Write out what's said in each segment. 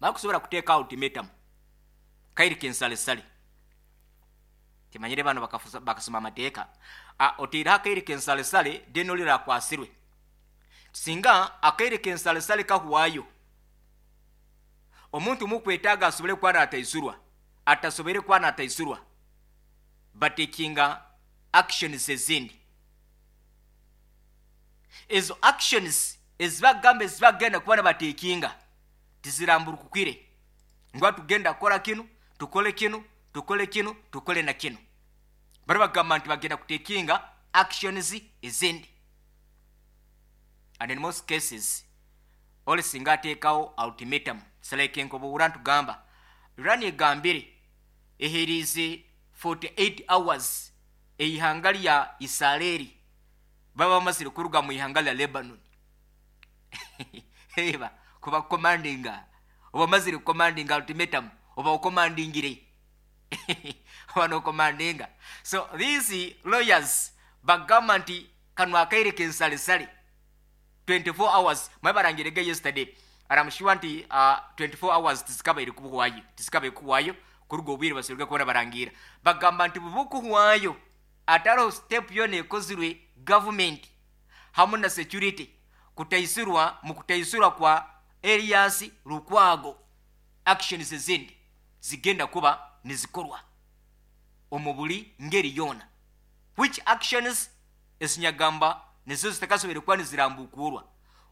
Bakusobora kuteeka ultimatum kairi kensalesale. Timanyire bano bakasoma amateeka. Oteireho akaire kensalesale then orire akwasirwe. Singa akaire kensalesale kahwayo, omuntu mukwetaaga asobole kuba nataisurwa, atasoboire kuba nataisurwa, batekinga actions ezindi. Ezo actions ezibakugamba ezibakugenda kuba nibatekinga tiziramburukukire ngu hati tugenda kukora kinu, tukole kinu, tukole kinu, tukole na kinu. Bari bagamba nti bagenda kutekinga actions ezindi. And in most cases, ole singa ateekaho ultimatum, it's like nkobuhurra nitugamba, Iran egambire eheriize 48 hours eihanga rya Isareri babe bamazire kuruga mu ihanga rya Lebanon. Reeba, ku bakukomandinga, oba omazire kukomandinga ultimatum, oba okomandingire. Oba nokomandinga. So these lawyers bagamba nti kanu akaire k'ensalesale 24 hours, mwabe barangirege yesterday, and I'm sure nti 24 hours tizikabaire kuhwayo, tizikabaire kuhwayo kuruga obwire basoboire kuba nibarangiira. Bagamba nti bubukuhwayo atariho step yoona ekozirwe government hamu na security kutaisirwa mu kutaisirwa kwa Erias Lukwago, actions ezindi zigenda kuba nizikorwa omu buri ngeri yoona. Which actions ezinyagamba nizo zitakasoboire kuba nizirambukuurwa?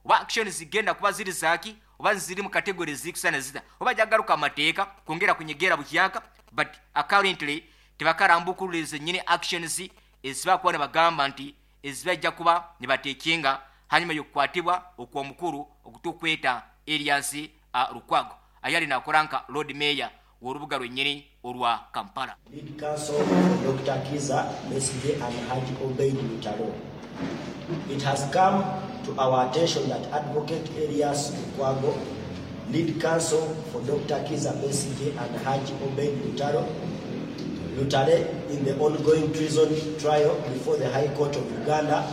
Oba actions zigenda kuba ziri zaaki oba niziri mu category ezirikusana zita? Oba jagaruka amateeka kwongera kunyegera buhyaka but currently tibakarambukurura zenyini actions ezibakuba nibagamba nti ezibaija kuba nibatekinga hanyuma y'okukwatibwa okw'omukuru ogu tukweta Erias Lukwago ayali nakora nka Lord Mayor w'orubuga rwenyini orwa Kampala. Lead Counsel for Dokita Kizza Besigye and Hajji Obeid Lutalo. It has come to our attention that Advocate Erias Lukwago, Lead Counsel for Dokita Kizza Besigye and Hajji Obeid Lutalo, Lutale in the ongoing treason trial before the High Court of Uganda,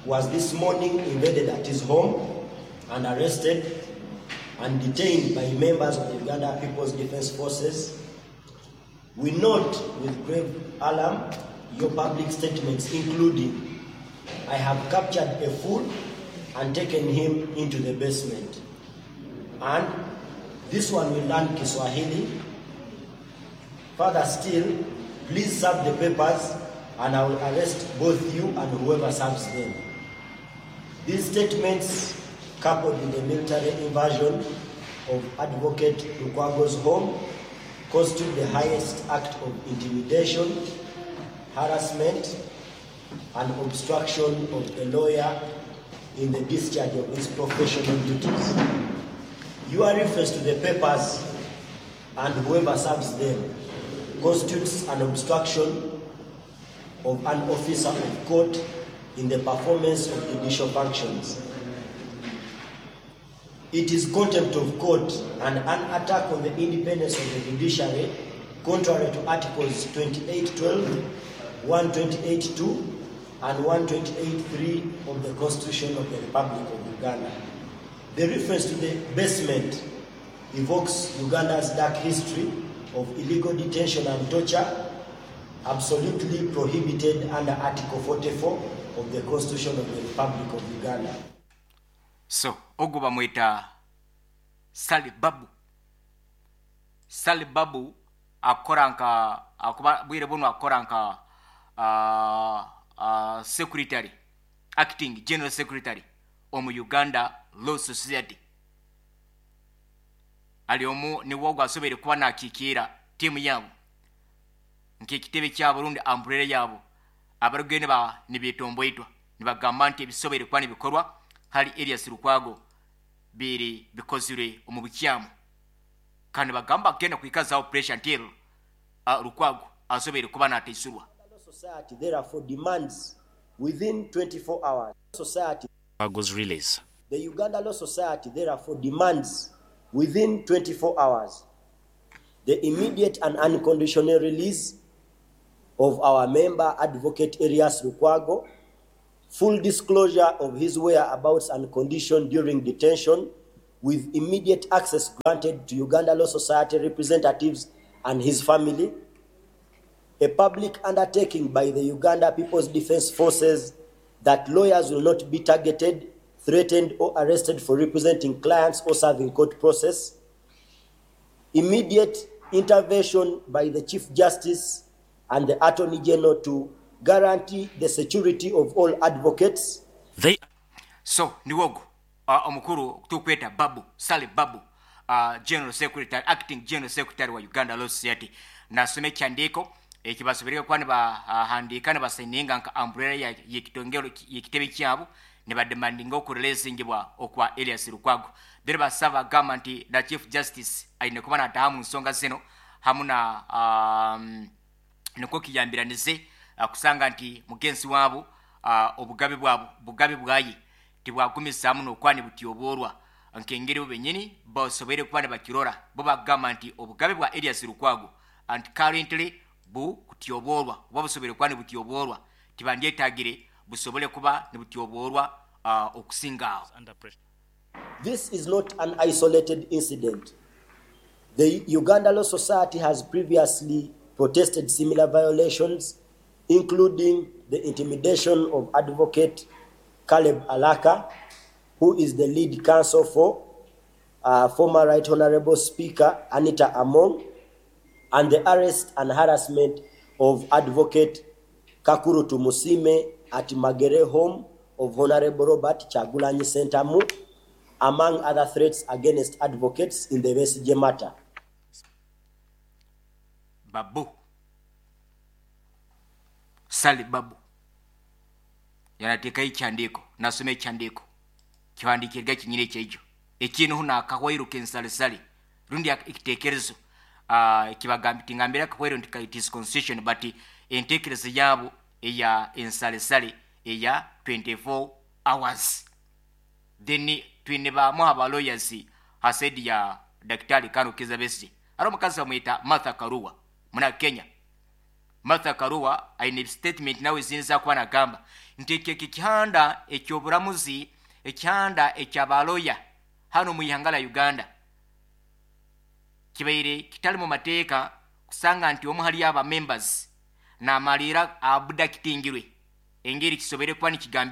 was this morning invaded at his home and arrested and detained by members of the Uganda People's Defence Forces. We note with grave alarm your public statements including, I have captured a fool and taken him into the basement. And this one will learn Kiswahili. Further still, please serve the papers and I will arrest both you and whoever serves them. These statements, coupled with the military invasion of Advocate Lukwago's home, constitute the highest act of intimidation, harassment, and obstruction of a lawyer in the discharge of his professional duties. Your reference to the papers and whoever serves them constitutes an obstruction of an officer of court in the performance of judicial functions. It is contempt of court and an attack on the independence of the judiciary, contrary to Articles 28.12, 128.2, and 128.3 of the Constitution of the Republic of Uganda. The reference to the basement evokes Uganda's dark history of illegal detention and torture, absolutely prohibited under Article 44 of the Constitution of the Republic of Uganda. So ogu bamweta Sally Babu. Sally Babu akukora nka akuba bwire bunu akukora nka secretary, acting general secretary omu Uganda Law Society. Ari omu niwe ogu asoboire kuba nakikiira tiimu yaabo nk'ekitebe kyabo rundi umbrella yaabo abarikugira nibetomboitwa nibagamba nti ebisoboire kuba nibikorwa hali Erias Lukwago biri bikozirwe omu bukyamu kandi nibagamba kugenda kwikazaho pressure until Lukwago asoboire kuba nataisurwa. Law Society therefore demands within 24 hours. Society. Lukwago's release. The Uganda Law Society therefore demands within 24 hours the immediate and unconditional release of our member Advocate Erias Lukwago, full disclosure of his whereabouts and condition during detention with immediate access granted to Uganda Law Society representatives and his family, a public undertaking by the Uganda People's Defense Forces that lawyers will not be targeted, threatened, or arrested for representing clients or serving court process, immediate intervention by the Chief Justice and the Attorney General to guarantee the security of all advocates. They. So niwe ogu omukuru tukweta Babu, Sally Babu, General Secretary, Acting General Secretary wa Uganda Law Society nasoma ekihandiiko ekibasoboire kuba nibahandiika nibasayininga nka umbrella y'ekitongole y'ekitebe kyabo nibademandinga okureleasingibwa okwa Erias Lukwago. Then basaba bagamba nti na Chief Justice aine kuba nataha mu nsonga zino hamu na um, nikwo kiyambiranize kusanga nti mugenzi wabo obugabe bwabo bugabe bwaye tibwagumizaamu n'okuba nibutyoboorwa nk'engeri bo benyini basoboire kuba nibakirora. Bo bagamba nti obugabe bwa Erias Lukwago nti currently bukutyoboorwa oba busoboire kuba nibutyoboorwa tibandyetagire busobole kuba nibutyoboorwa okusinga aho. This is not an isolated incident. The Uganda Law Society has previously protested similar violations, including the intimidation of Advocate Caleb Alaka, who is the lead counsel for former Right Honorable Speaker Anita Among, and the arrest and harassment of Advocate Kakuru Tumusime at Magere home of Honorable Robert Kyagulanyi Ssentamu, among other threats against advocates in the Besigye matter. Babu Sali Babu yanateekayo ekihandiiko nasoma ekihandiiko kihandiikirwe kinyine ekyekyo ekiineho nakahwairo k'ensalesale rundi ekiteekerezo ekibagambi tingambire akahwairo nti it is constitution but enteekereza yaabo eya ensalesale eya 24 hours. Then twine bamu aba lawyers ha side ya Daktari Kano Kizza Besigye. Hariho omukazi bamweta Martha Karua muna Kenya. Martha Karua aine statement nawe ezindi ezakuba nagamba nti eki ekihanda eky'oburamuzi ekihanda ekya lawyer hanu omu ihanga lya Uganda kibaire kitali mu mateeka kusanga nti omu hali aba members namaliira abductingirwe engeri kisoboire kuba nikigambirwa.